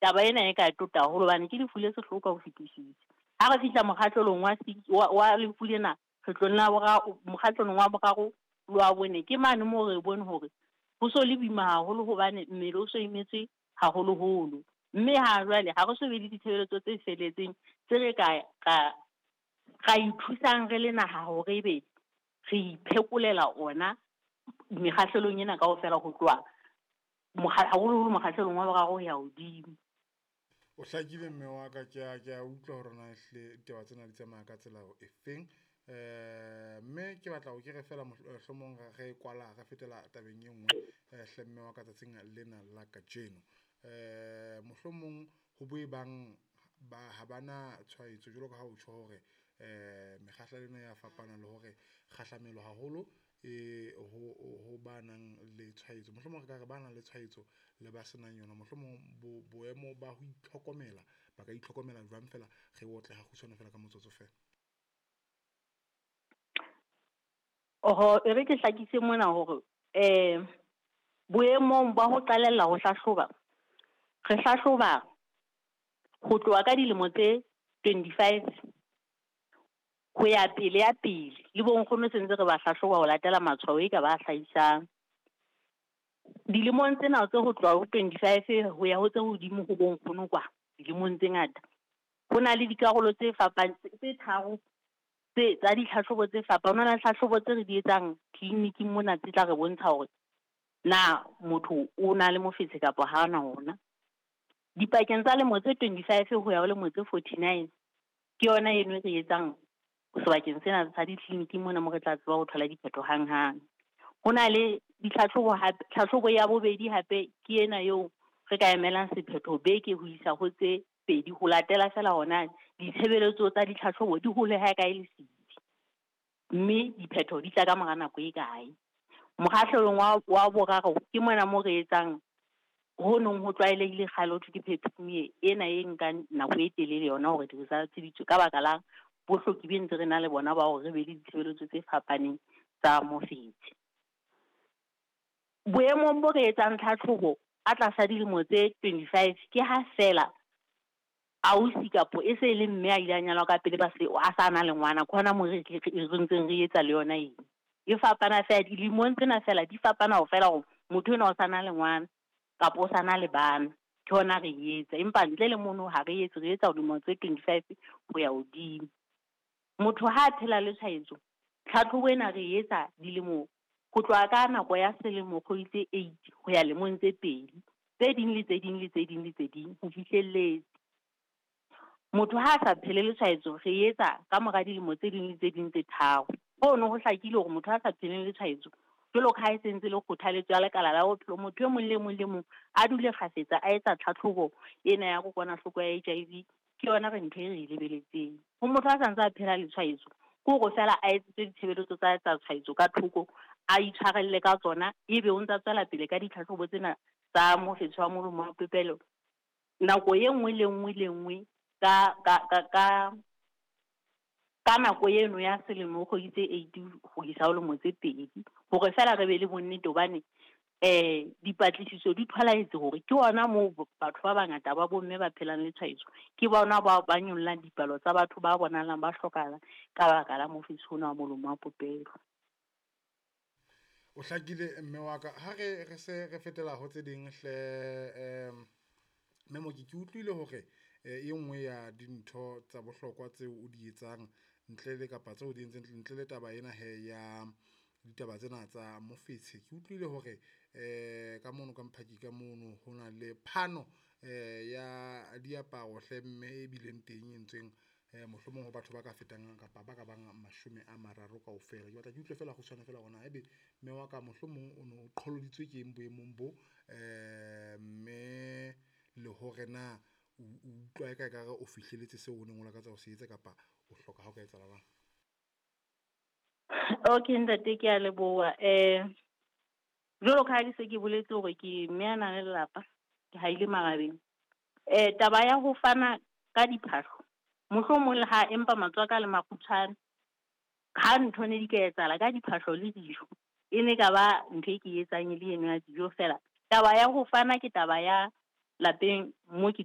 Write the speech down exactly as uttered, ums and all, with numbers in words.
Taba ena e ka tota haholo hobane ke lefu le sehloho ka ho fetisisa. Ha re fihla mokgahlelong wa six wa, wa lefu lena, kgetlong la boraro, mokgahlelong wa boraro le wa bone, ke mane moo re bone hore ho so le boima haholo hobane mmele o so imetswe haholoholo. Mme ha jwale ha re so be le ditshebeletso tse felletseng tse re ka ka ra ithusang re le naha hore ebe re iphekolela ona mekgahlelong ena kaofela ho tloha haholoholo mokgahlelong wa boraro ho ya hodimo. O hlakile mme wa ka, ke a ke a utlwa hore na ehlile ditaba tsena di tsamaya ka tsela e feng. Eh mme ke batla ho ke re fela mohlomong re kwala re fetela tabeng e nngwe hle mme wa ka tsatsing lena la kajeno. Eh mohlomong ho bo e bang ba ha bana tshwaetso jwalo ka ha o tjho hore eh mekgahlelo ena ya fapana le hore kgahlamelo haholo e ho ho ba nang le tshwaetso. Mohlomong re ka re ba nang le tshwaetso le ba senang yona, mohlomong bo boemo ba ho itlhokomela ba ka itlhokomela jwang fela re otle ha kgutshwane fela ka motsotso fela. Oho, e re ke hlakise mona hore eh boemong ba ho qalella ho hlahloba, re hlahloba ho tloha ka dilemo tse twenty-five ho ya pele ya pele. Le bonkgono se ntse re ba hlahloba ho latela matshwao e ka ba hlahisang. Dilemong tsena tse ho tloha ho twenty-five ho ya ho tse hodimo ho bonkgono kwa, dilemong tse ngata. Ho na le dikarolo tse fapang tse tharo tse tsa ditlhahlobo tse fapaneng. Ho na le tlhahlobo tse re di etsang tleliniking mona tse tla re bontsha hore na motho o na le mofetshe kapa ha ona ona. Dipakeng tsa lemo tse twenty-five ho ya ho lemo tse forty-nine ke yona eno e re etsang sebakeng sena sa ditleliniking mona mo re tla tseba ho thola diphetho hanghang. Ho na le ditlhahlobo hape, tlhahlobo ya bobedi hape ke ena eo re ka emelang sephetho beke ho isa ho tse pedi ho latela fela hona ditshebeletso tsa ditlhahlobo di hole ha kae le setsi, mme diphetho di tla ka mora nako e kae. Mokgahlelong wa, wa boraro ke mona mo re etsang ho nong ho tlwaelehile kgale ho thwe ke pap smear ena e nkang nako e telele yona hore di-results di tswe ka baka la bohloki be ntse re na le bona ba hore re be le ditshebeletso tse fapaneng tsa mofetshe. Boemong bo re etsang tlhatlhobo a tlasa dilemo tse twenty-five ke ha fela ausi kapo e se le mme a ile a nyalwa ka pele ba se a sa na le ngwana, ke hona moo re re ntseng re etsa le yona eng. E fapana fela dilemong tsena fela di fapana ho fela hore motho enwa o sa na le ngwana kapa o sa na le bana, ke hona re etsa. Empa ntle le mono ha re etse, re etsa dilemo tse twenty-five ho ya hodimo. Motho ha a phela le tshwaetso, tlhatlhobo ena re etsa dilemo ho tloha ka nako ya selemo kgwedi tse eight ho ya lemong tse pedi, tse ding le tse ding le tse ding le tse ding ho fihlelletse. Motho ha a sa phele le tshwaetso re etsa ka mora dilemo tse ding le tse ding tse tharo. Hono ho hlakile hore motho ha sa pheleng le tshwaetso jwalo ka ha e sentse le kgothaletso ya lekala la bophelo, motho e mong le mong le mong a dule kgafetsa a etsa tlhatlhobo ena ya kokwanahloko ya H I V, ke yona re ntho e re e lebeletseng. Ho motho a santse a phela le tshwaetso, ke hore feela a etsetswe ditshebeletso tsa tsa tshwaetso ka thoko, a itshwarelle ka tsona, ebe o ntsa tswela pele ka ditlhatlhobo tsena tsa mofetshe wa molomo wa popelo nako e nngwe le nngwe le nngwe ka ka ka ka ka nako eno ya selemo kgwedi tse eight ho isa ho lemo tse pedi, hore feela re be le bonnete hobane eh dipatlisiso di tholahetse hore ke hona moo batho ba bangata ba bomme ba phelang le tshwaetso, ke bona ba ba nyollang dipalo tsa batho ba bonahalang ba hlokahala ka baka la mofetshe ona wa molomo wa popelo. O hlakile mme wa ka, ha re re se re fetela ho tse ding hle em mme Mooki, ke utlwile hore e nngwe ya dintho tsa bohlokwa tseo o di etsang ntle le kapa tseo o di entseng ntle le taba ena he ya ditaba tsena tsa mofetshe, ke utlwile hore eh ka mono ka Mphaki ka mono ho na le phano eh ya diaparo hle mme e bileng teng e entsweng eh mohlomong ho batho ba ka fetang kapa ba ka bang mashome a mararo kaofela. Ke batla ke utlwe fela kgutshwane fela hore na ebe mme wa ka mohlomong o no qholoditswe ke eng boemong bo eh mme le hore na o utlwa eka ekare o fihlelletse seo o neng o lakatsa ho se etsa kapa o hloka ha o ka etsahala jwang? Okay ntate, ke a leboha. Eh jwalo ka ha ke se ke boletse hore ke mme a nang le lelapa, ke haile marabeng. Eh taba ya ho fana ka diphahlo, mohlomong le ha empa matswaka le makgutshwane, ha ntho ne di ka etsahala ka diphahlo le dijo, e ne ka ba ntho e ke etsang e le eno ya dijo fela. Taba ya ho fana ke taba ya lapeng mo ke